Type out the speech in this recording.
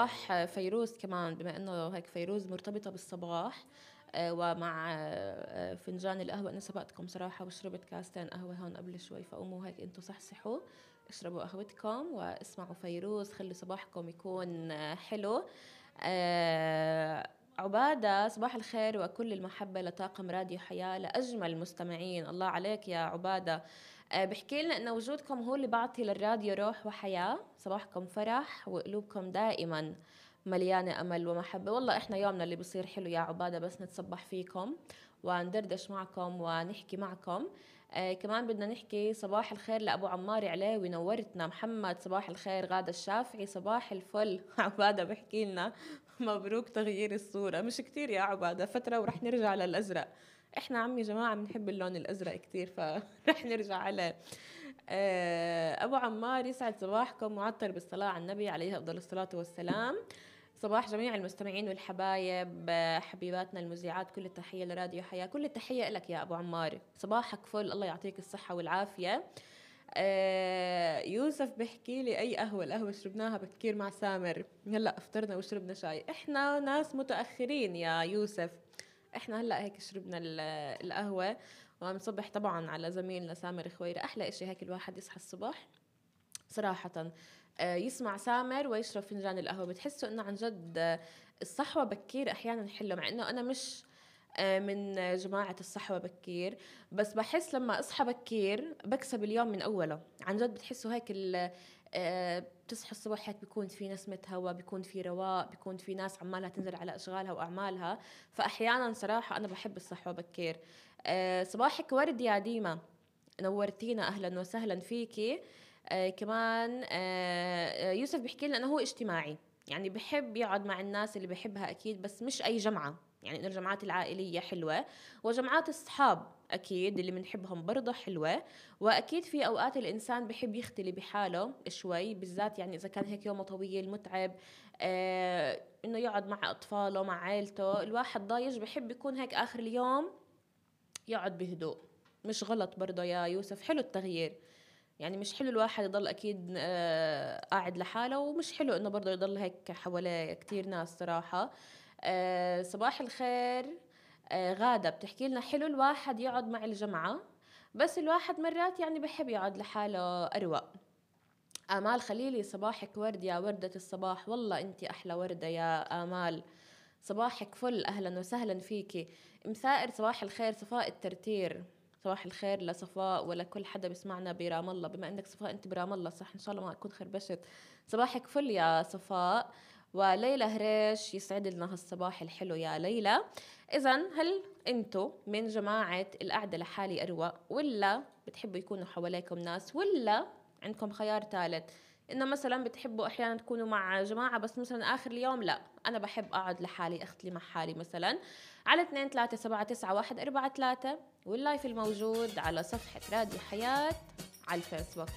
صباح فيروز كمان، بما إنه هيك فيروز مرتبطة بالصباح. ومع فنجان القهوة. أنا سبقتكم صراحة وشربت كاستين قهوة هون قبل شوي، فقوموا هيك أنتوا صحصحوا، اشربوا قهوتكم واسمعوا فيروز، خلي صباحكم يكون حلو. عبادة، صباح الخير وكل المحبة لطاقم راديو حياة، لأجمل المستمعين. الله عليك يا عبادة. بحكي لنا إن وجودكم هو اللي بعطي للراديو روح وحياة، صباحكم فرح وقلوبكم دائما مليانة أمل ومحبة. والله إحنا يومنا اللي بصير حلو يا عبادة بس نتصبح فيكم وندردش معكم ونحكي معكم. كمان بدنا نحكي صباح الخير لأبو عمار علاوي، نورتنا. محمد صباح الخير. غادة الشافعي صباح الفل. عبادة بحكي لنا مبروك تغيير الصورة. مش كتير يا عبادة، فترة ورح نرجع للأزرق. إحنا عمي جماعة بنحب اللون الأزرق كتير، فرح نرجع عليه. أبو عمار يسعد صباحكم، معطر بالصلاة على النبي عليه أفضل الصلاة والسلام. صباح جميع المستمعين والحبايب، حبيباتنا المذيعات، كل التحية لراديو حياة، كل التحية لك يا أبو عمار. صباحك فل، الله يعطيك الصحة والعافية. يوسف بحكي لي أي قهوة؟ القهوة شربناها بكير مع سامر، هلأ افطرنا وشربنا شاي. إحنا ناس متأخرين يا يوسف، إحنا هلأ هيك شربنا القهوة. ونصبح طبعا على زميلنا سامر خويرة. أحلى إشي هيك الواحد يصحى الصبح صراحة، يسمع سامر ويشرب فنجان القهوة، بتحسوا إنه عن جد الصحوة بكير أحيانا حلوة. مع إنه أنا مش من جماعة الصحوة بكير، بس بحس لما أصحى بكير بكسب اليوم من أوله. عن جد بتحسوا هيك بتصحى الصبح هيك بيكون في نسمة هوا، بيكون في رواق، بيكون في ناس عمالها تنزل على أشغالها وأعمالها. فأحيانا صراحة أنا بحب الصحوة بكير. صباحك ورد يا ديما، نورتينا، أهلا وسهلا فيكي. كمان يوسف بيحكي لنا أنه هو اجتماعي، يعني بحب يقعد مع الناس اللي بحبها أكيد، بس مش أي جمعة. يعني إنه الجمعات العائلية حلوة، وجمعات الصحاب أكيد اللي بنحبهم برضه حلوة. وأكيد في أوقات الإنسان بحب يختلي بحاله شوي، بالذات يعني إذا كان هيك يومه طويل متعب، إنه يقعد مع أطفاله مع عائلته، الواحد ضايج بحب يكون هيك آخر اليوم يقعد بهدوء. مش غلط برضه يا يوسف، حلو التغيير. يعني مش حلو الواحد يضل أكيد قاعد لحاله، ومش حلو إنه برضه يضل هيك حواليه كتير ناس صراحة. صباح الخير. غادة بتحكي لنا حلو الواحد يقعد مع الجماعة، بس الواحد مرات يعني بحب يقعد لحاله أروق. آمال خليلي صباحك ورد يا وردة الصباح، والله أنت أحلى وردة يا آمال. صباحك فل، أهلا وسهلا فيكي. مسائر صباح الخير صفاء الترتير. صباح الخير لصفاء ولكل حدا بسمعنا برام الله. بما انك صفاء انت برام الله صح، ان شاء الله ما اكون خربشت. صباحك فل يا صفاء. وليلى هريش يسعد لنا هالصباح الحلو يا ليلى. اذا هل انتو من جماعة القعدة لحالي اروق، ولا بتحبوا يكونوا حواليكم ناس، ولا عندكم خيار ثالث انه مثلا بتحبوا احيانا تكونوا مع جماعة بس مثلا اخر اليوم لا انا بحب اقعد لحالي اختلي مع حالي؟ مثلا على 2-3-7-9-1-4-3 واللايف الموجود على صفحة راديو حياة على الفيسبوك.